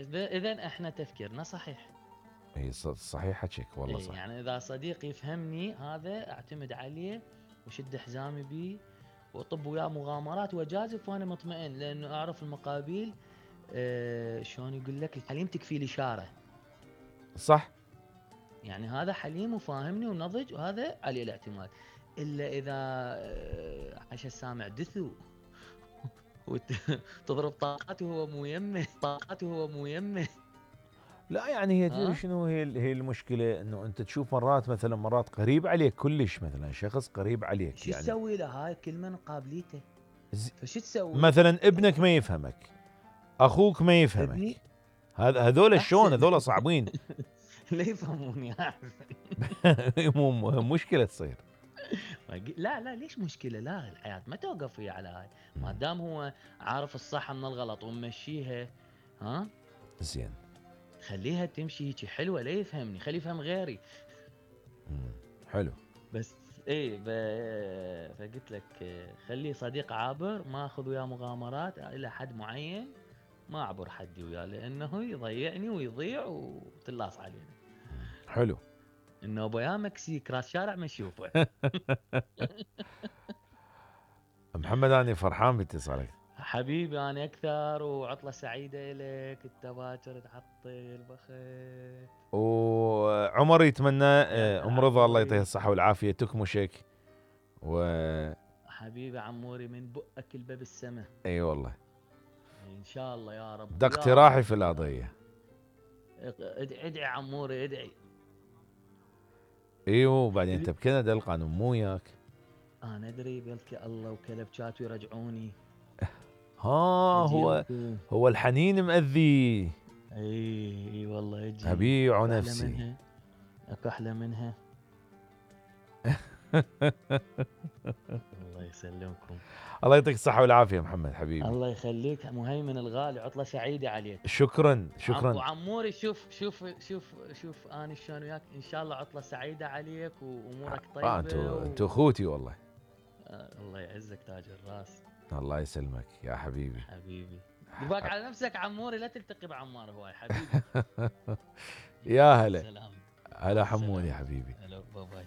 اذا احنا تفكيرنا صحيح. اي صحيح حكيك والله صح. يعني اذا صديق يفهمني هذا اعتمد عليه وشد حزامي بيه واطب وياه مغامرات واجازف وانا مطمئن، لانه اعرف المقابيل. شلون يقول لك الحليم تكفي الاشاره. صح. يعني هذا حليم وفاهمني ونضج، وهذا عليه الاعتماد. الا اذا عاش السامع دثو وتضرب طاقته وهو مو يمه، طاقته وهو مو يمه. لا يعني هي تدري ها شنو هي المشكله، انه انت تشوف مرات مثلا مرات قريب عليك كلش، مثلا شخص قريب عليك شو يعني تسوي له؟ هاي كل من قابليته. فشو تسوي؟ مثلا ابنك ما يفهمك، اخوك ما يفهمك، ابني هذول شلون؟ احسن. هذول صعبين. لا يفهموني احسن. مشكله تصير. لا لا، ليش مشكله؟ لا، الحياه ما توقف هي على هاي. ما دام هو عارف الصح من الغلط ومشيها. ها زين. خليها تمشي هيك حلوه، لا يفهمني، خليه يفهم غيري. حلو. بس ايه فقلت لك خليه صديق عابر، ما اخذ وياه مغامرات الى حد معين. ما اعبر حدي وياه لانه يضيعني ويضيع وتلاص علينا. حلو. انه ابويا مكسيك راس شارع ما اشوفه. محمد انا فرحان باتصالك. حبيبي انا اكثر، وعطله سعيده لك، انت باكر تعطل بخيت. وعمر يتمنى ام رضا الله يعطيها عموري الصحه والعافيه تكمشك و حبيبي عموري، من بؤك الباب السماء. اي والله. ان شاء الله يا رب ده يا اقتراحي رب في القضيه. ادعي عموري ادعي. ايوه وبعدين انت بكندا القانون مو وياك. انا ادري بلكي الله وكلبشات يرجعوني. ها اجي هو لكم. هو الحنين مأذي. اي والله اجي. ابيع اكو احلى نفسي. منها. اكو احلى منها. الله يسلمكم. الله يعطيك الصحة والعافية محمد حبيبي. الله يخليك مهيمن الغالي، عطلة سعيدة عليك. شكرا شكرا. وعموري شوف انا شلون وياك، ان شاء الله عطلة سعيدة عليك وامورك طيبة انتو اخوتي والله. الله يعزك تاج الراس. الله يسلمك يا حبيبي. حبيبي دباك على نفسك عموري، لا تلتقي بعمار هواي حبيبي. يا هلا. سلام. هلا حمودي حبيبي. هلا باي باي.